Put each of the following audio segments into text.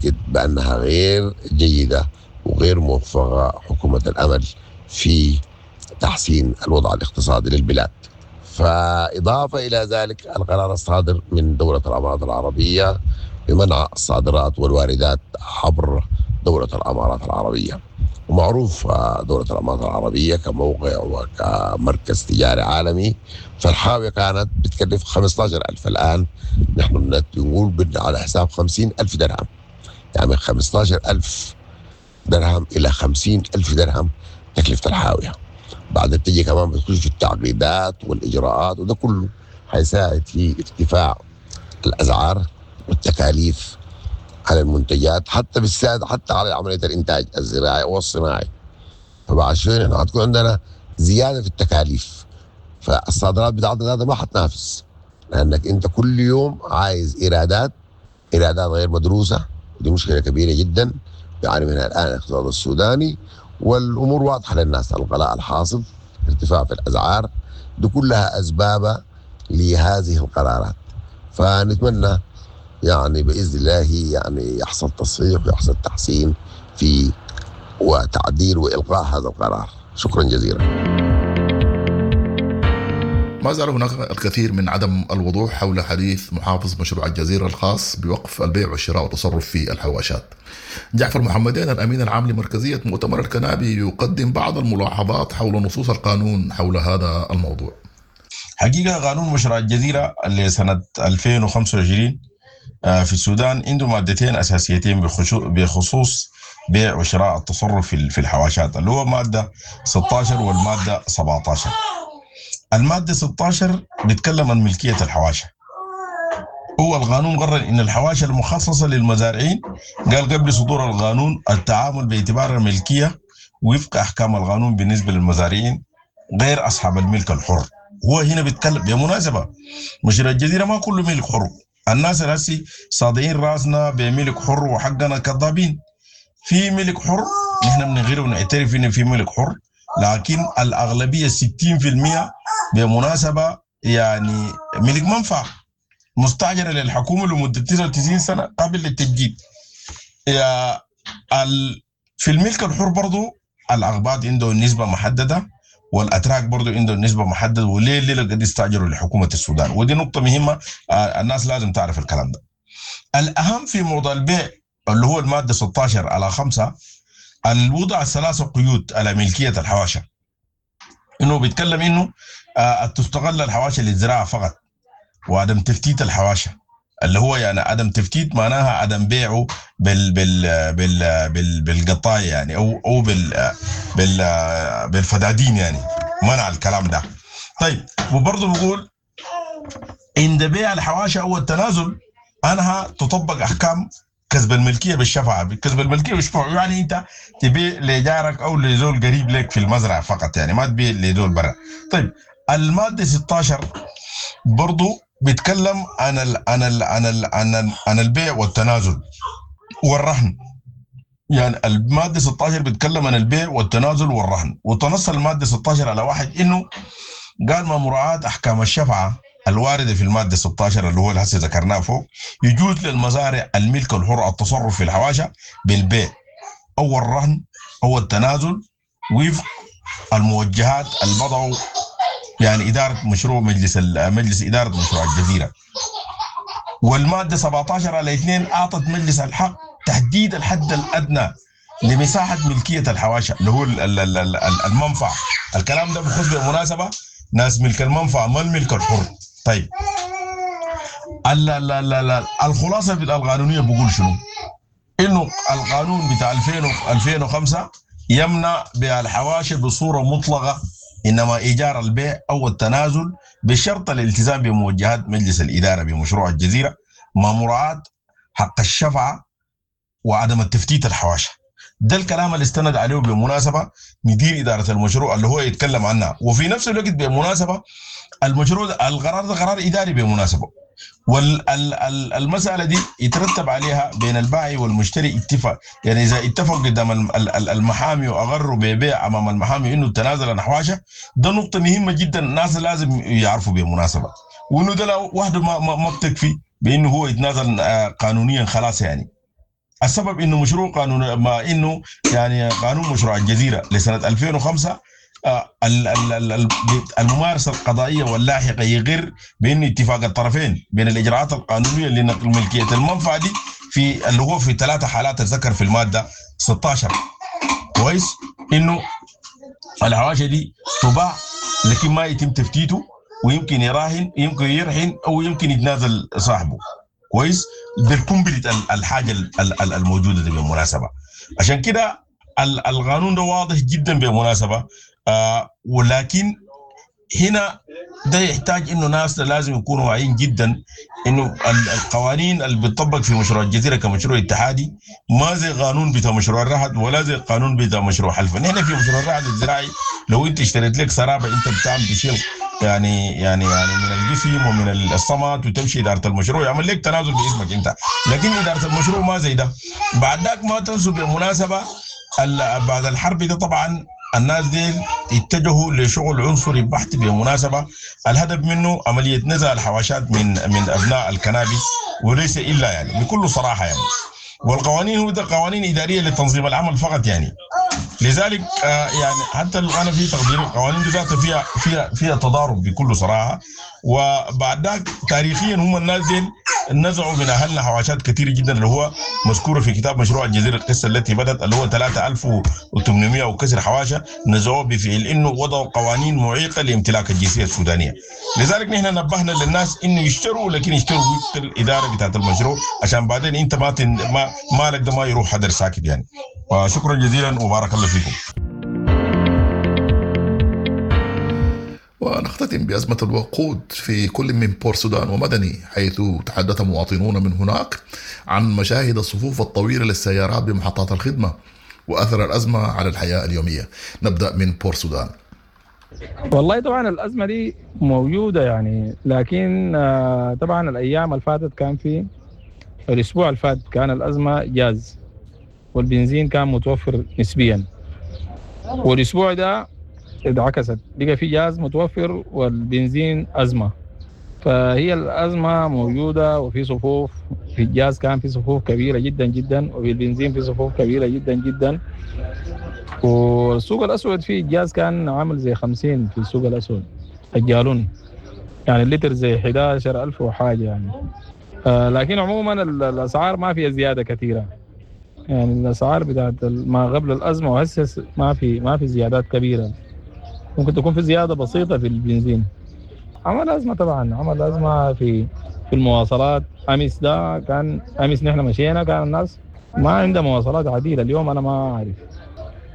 تؤكد بأنها غير جيدة وغير موفقة حكومة الأمل في تحسين الوضع الاقتصادي للبلاد. فإضافة إلى ذلك القرار الصادر من دولة الأمارات العربية بمنع الصادرات والواردات عبر دولة الأمارات العربية. ومعروف دولة الأمارات العربية كموقع وكمركز تجاري عالمي، فالحاوية كانت بتكلف 15,000، الآن نحن بنقول على حساب 50,000 درهم، يعني من 15,000 درهم إلى 50,000 درهم تكلفة الحاوية. بعد تجي كمان بتخش في التعقيدات والإجراءات، وده كله حيساعد في ارتفاع الأسعار والتكاليف على المنتجات، حتى بالساد حتى على عملية الإنتاج الزراعي والصناعي. فبعد شوية نحن حتكون عندنا زيادة في التكاليف، فالصادرات بتاعتنا ما حتنافس، لأنك أنت كل يوم عايز إيرادات غير مدروسة، ودي مشكلة كبيرة جدا يعاني منها الآن الاقتصاد السوداني. والأمور واضحة للناس، الغلاء الحاصل، ارتفاع في الأسعار، دي كلها أسباب لهذه القرارات. فنتمنى يعني بإذن الله يعني يحصل تصحيح ويحصل تحسين في وتعديل وإلغاء هذا القرار. شكرا جزيلا. ما زال هناك الكثير من عدم الوضوح حول حديث محافظ مشروع الجزيرة الخاص بوقف البيع والشراء والتصرف في الحواشات. جعفر محمدين الأمين العام لمركزية مؤتمر الكنابي يقدم بعض الملاحظات حول نصوص القانون حول هذا الموضوع. حقيقة قانون مشروع الجزيرة لسنة 2025 في السودان عنده مادتين أساسيتين بخصوص بيع وشراء التصرف في الحواشات، اللي هو مادة 16 والمادة 17. المادة 16 بيتكلم عن ملكية الحواشة. هو القانون قرر إن الحواشة المخصصة للمزارعين، قال قبل صدور القانون التعامل باعتبار الملكية وفق أحكام القانون بالنسبة للمزارعين غير أصحاب الملك الحر. هو هنا بيتكلم بمناسبة مشروع الجزيرة ما كله ملك حر، الناس الهسي صادعين راسنا بملك حر وحقنا كذابين. في ملك حر نحن من غيره ونعترف إن في ملك حر، لكن الأغلبية 60% بمناسبة يعني ملك منفعة مستأجرة للحكومة لمدة 99 سنة قابل للتجديد. في الملك الحر برضو الأغباط عنده نسبة محددة، والأتراك برضو عنده نسبة محددة، وليه الليلة قد يستأجروا لحكومة السودان. ودي نقطة مهمة، الناس لازم تعرف الكلام ده. الأهم في موضوع البيع اللي هو المادة 16/5 الوضع الثلاثة قيود على ملكية الحواشة، إنه بيتكلم إنه تستغل الحواشة للزراعة فقط، وعدم تفتيت الحواشة، اللي هو يعني عدم تفتيت معناها عدم بيعه بال بال بال بال بالقطاية يعني أو بال بال بالفدادين، يعني منع الكلام ده. طيب وبرضه بقول عند بيع الحواشة أو التنازل أنها تطبق أحكام كسب الملكية بالشفعة. كسب الملكية بالشفعة يعني أنت تبيع لجارك أو لزول قريب لك في المزرعة فقط، يعني ما تبيع لزول برا. طيب المادة 16 برضو بيتكلم عن ال عن ال عن ال عن, عن البيع والتنازل والرهن. يعني المادة 16 بيتكلم عن البيع والتنازل والرهن، وتنص المادة 16/1 إنه قال ما مراعاة أحكام الشفعة الواردة في المادة 16 اللي هو اللي هسه ذكرناه فوق، يجوز للمزارع الملك الحر التصرف في الحواشة بالبيع أو الرهن أو التنازل وفق الموجهات اللي يعني إدارة مشروع مجلس إدارة مشروع الجزيرة. والمادة 17/2 أعطت مجلس الحق تحديد الحد الأدنى لمساحة ملكية الحواشة اللي هو المنفعة. الكلام ده بخصوص بالمناسبة ناس ملك المنفعة ما الملك الحر. طيب لا لا لا لا الخلاصة القانونية بقول شنو؟ إنه القانون بتاع 2005 يمنع بيع الحواشي بصورة مطلقة، إنما إيجار البيع أو التنازل بشرط الالتزام بموجهات مجلس الإدارة بمشروع الجزيرة مع مراعاة حق الشفعة وعدم التفتيت الحواشة. ده الكلام اللي استند عليه بالمناسبة مدير إدارة المشروع اللي هو يتكلم عنها. وفي نفس الوقت بالمناسبة المشروع القرار ده قرار إداري بالمناسبة، والمسألة دي يترتب عليها بين البائع والمشتري اتفاق. يعني إذا اتفق قدام المحامي وأغروا ببيع أمام المحامي إنه التنازل عن حواشة، ده نقطة مهمة جدا الناس لازم يعرفوا بالمناسبة، وإنه ده وحده ما بتكفي بإنه هو يتنازل قانونيا خلاص. يعني السبب انه مشروع قانون، ما انه يعني قانون مشروع الجزيرة لسنه 2005 الممارسة القضائية واللاحقه يغر بانه اتفاق الطرفين بين الاجراءات القانونية لنقل ملكية المنفعة دي في اللي هو في 3 حالات ذكر في المادة 16. كويس، انه الحواشة دي تباع لكن ما يتم تفتيته، ويمكن يراهن، يمكن يرهن، او يمكن يتنازل صاحبه. كويس، بال complete الحاجة الموجودة دي بالمناسبة. عشان كده القانون ده واضح جدا بالمناسبة. ولكن هنا ده يحتاج انه ناس لازم يكونوا واعيين جدا انه القوانين اللي بتطبق في مشروع الجزيرة كمشروع اتحادي ما زي قانون بتاع مشروع الرهد ولا زي قانون بتاع مشروع حلفا. نحن في مشروع الرهد الزراعي لو انت اشتريت لك سرابه انت بتعمل تشيل يعني يعني يعني من القسم ومن الصمت وتمشي ادارة المشروع يعمل لك تنازل باسمك انت، لكن ادارة المشروع ما زي ده. بعد ذاك ما تنسوا بالمناسبة بعد الحرب ده طبعا الناس دي اتجهوا لشغل عنصري بحت بالمناسبة، الهدف منه عملية نزع الحواشات من ابناء الكنابي وليس الا يعني بكل صراحة يعني. والقوانين هو ده قوانين ادارية لتنظيم العمل فقط يعني. لذلك يعني حتى انا في تقدير القوانين دي ذاتها فيها فيها فيها تضارب بكل صراحة. وبعد ذاك تاريخيا هم الناس دي نزعوا من اهلنا حواشات كثيرة جدا اللي هو مذكورة في كتاب مشروع الجزيرة القصة التي بدات اللي هو 3800 وكسر حواشه نزعوه بفعل انه وضعوا قوانين معيقه لامتلاك الجنسية السودانية. لذلك نحن نبهنا للناس انه يشتروا، لكن يشتروا وفق الادارة بتاعت المشروع عشان بعدين انت ما مالك ده ما يروح هدر ساكت يعني. وشكرا جزيلا وبارك الله فيكم. ونختتم بأزمة الوقود في كل من بور سودان ومدني، حيث تحدث مواطنون من هناك عن مشاهد الصفوف الطويلة للسيارات بمحطات الخدمة وأثر الأزمة على الحياة اليومية. نبدأ من بور سودان. والله طبعا الأزمة دي موجودة يعني، لكن طبعا الأيام اللي فاتت كان في الأسبوع اللي فات كان الأزمة جاز والبنزين كان متوفر نسبيا، والأسبوع ده اتعكست، بقى في جاز متوفر والبنزين أزمة. فهي الأزمة موجودة وفي صفوف في الجاز كان في صفوف كبيرة جدا جدا، وفي البنزين في صفوف كبيرة جدا جدا. والسوق الأسود في الجاز كان عامل زي 50 في السوق الأسود الجالون، يعني اللتر زي 11,000 وحاجة يعني. لكن عموما الأسعار ما فيها زيادة كثيرة يعني، الأسعار بتاعت ما قبل الأزمة وهسه ما في زيادات كبيرة، ممكن تكون في زيادة بسيطة في البنزين. عمل أزمة طبعا، عمل أزمة في المواصلات. أمس ده كان أمس نحن مشينا كان الناس ما عندها مواصلات عديلة، اليوم أنا ما أعرف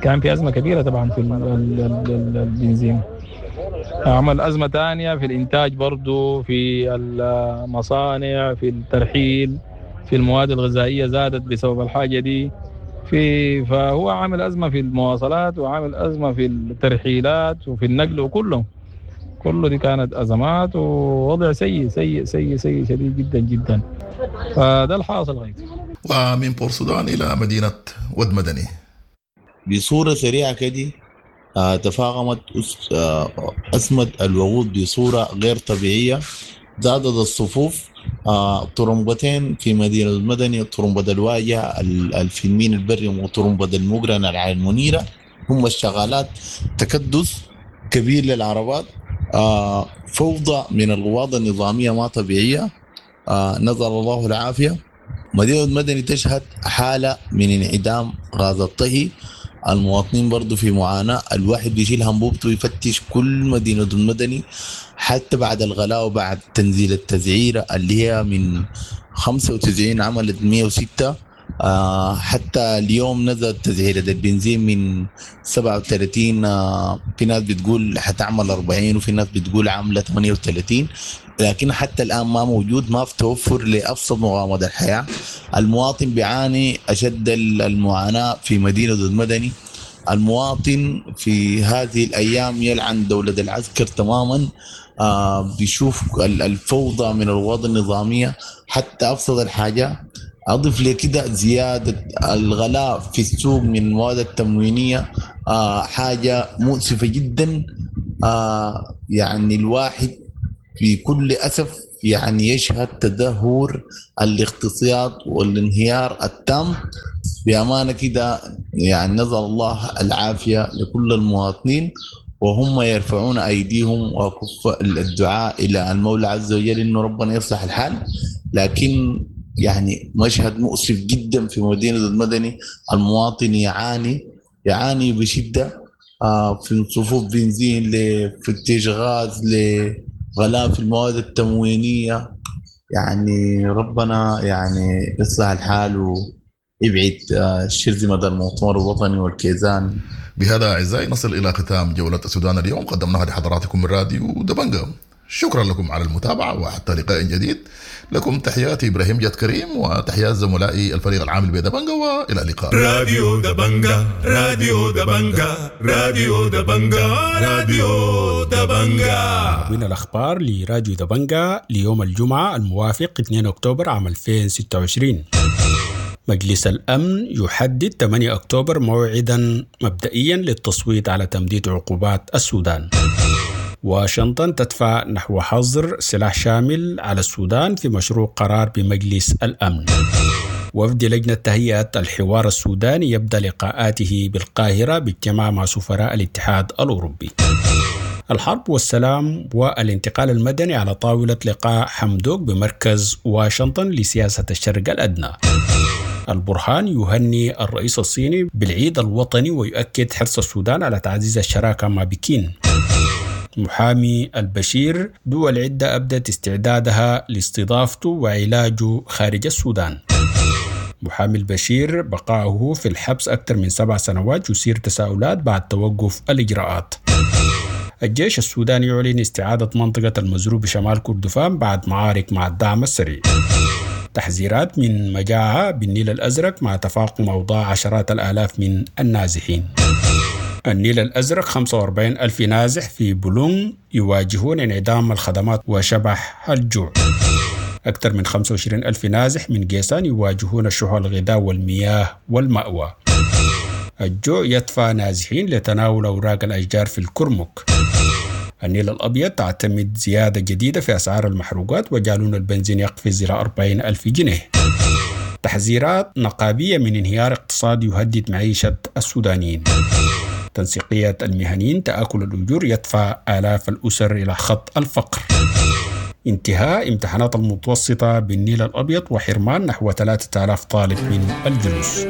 كان في أزمة كبيرة طبعا في البنزين. عمل أزمة تانية في الإنتاج برضو، في المصانع، في الترحيل، في المواد الغذائية زادت بسبب الحاجة دي. فهو عامل أزمة في المواصلات وعامل أزمة في الترحيلات وفي النقل وكله كله دي كانت أزمات ووضع سيء سيء سيء سيء شديد جدا جدا. فده الحاصل غير. ومن بورسودان إلى مدينة ود مدني بصورة سريعة كده تفاقمت أزمة الوقود بصورة غير طبيعية، زادت الصفوف. طرمبتين في مدينة المدني، طرمبة الواجهة الفيلمين البري وطرمبة المقرن على المنيرة، هم الشغالات. تكدس كبير للعربات، فوضى من القواض النظامية ما طبيعية، نزل الله العافية. مدينة المدني تشهد حالة من انعدام غاز الطهي، المواطنين برضو في معاناة. الواحد بيشيل همبوبته ويفتش كل مدينة المدني حتى بعد الغلاء وبعد تنزيل التسعيرة اللي هي من 95 عملت 106، حتى اليوم نزلت تسعيرة البنزين من 37، في ناس بتقول حتعمل 40 وفي ناس بتقول عاملة 38، لكن حتى الآن ما موجود، ما في توفر لأبسط مقاومة الحياة. المواطن بيعاني أشد المعاناة في مدينة المدني. المواطن في هذه الأيام يلعن دولة العسكر تماما، بيشوف الفوضى من الوضع النظامية حتى أبسط الحاجة. أضف لكده زيادة الغلاء في السوق من المواد التموينية، حاجة مؤسفة جدا. يعني الواحد في كل أسف يعني يشهد تدهور الاقتصاد والانهيار التام. بأمانة كده يعني نسأل الله العافية لكل المواطنين، وهم يرفعون أيديهم وكف الدعاء إلى المولى عز وجل إنه ربنا يصلح الحال. لكن يعني مشهد مؤسف جدا في مدينة المدني، المواطن يعاني بشدة في صفوف بنزين، لفتيش غاز، لغلاء في المواد التموينية. يعني ربنا يعني يصلح الحال ويبعد شرذمة المؤتمر الوطني والكيزان. بهذا أعزائي نصل إلى ختام جولة السودان اليوم، قدمناها لحضراتكم من راديو دبنجا. شكرا لكم على المتابعة، وحتى لقاء جديد لكم تحياتي إبراهيم جاد كريم وتحيات زملائي الفريق العامل بدبنجا، وإلى اللقاء. راديو دبنجا، راديو دبنجا، راديو دبنجا، راديو دبنجا. من الأخبار لراديو دبنجا ليوم الجمعة الموافق 2 أكتوبر عام 2026. مجلس الأمن يحدد 8 أكتوبر موعدا مبدئيا للتصويت على تمديد عقوبات السودان. واشنطن تدفع نحو حظر سلاح شامل على السودان في مشروع قرار بمجلس الأمن. وفد لجنة تهيئة الحوار السوداني يبدأ لقاءاته بالقاهرة باجتماع مع سفراء الاتحاد الأوروبي. الحرب والسلام والانتقال المدني على طاولة لقاء حمدوك بمركز واشنطن لسياسة الشرق الأدنى. البرهان يهني الرئيس الصيني بالعيد الوطني ويؤكد حرص السودان على تعزيز الشراكة مع بكين. محامي البشير دول عدة أبدت استعدادها لاستضافته وعلاجه خارج السودان. محامي البشير بقاؤه في الحبس أكثر من 7 سنوات يثير تساؤلات بعد توقف الإجراءات. الجيش السوداني يعلن استعادة منطقة المزروب بشمال كردفان بعد معارك مع الدعم السريع. تحذيرات من مجاعة بالنيل الأزرق مع تفاقم أوضاع عشرات الآلاف من النازحين. النيل الأزرق 45 ألف نازح في بولونغ يواجهون انعدام الخدمات وشبح الجوع. أكثر من 25 ألف نازح من جيسان يواجهون شح الغذاء والمياه والمأوى. الجوع يدفع نازحين لتناول أوراق الأشجار في الكرمك. النيل الأبيض تعتمد زيادة جديدة في أسعار المحروقات وجالون البنزين يقفز إلى 40 ألف جنيه. تحذيرات نقابية من انهيار اقتصادي يهدد معيشة السودانيين. تنسيقية المهنيين تآكل الأجور يدفع آلاف الأسر إلى خط الفقر. انتهاء امتحانات المتوسطة بالنيل الأبيض وحرمان نحو 3000 طالب من الجلوس.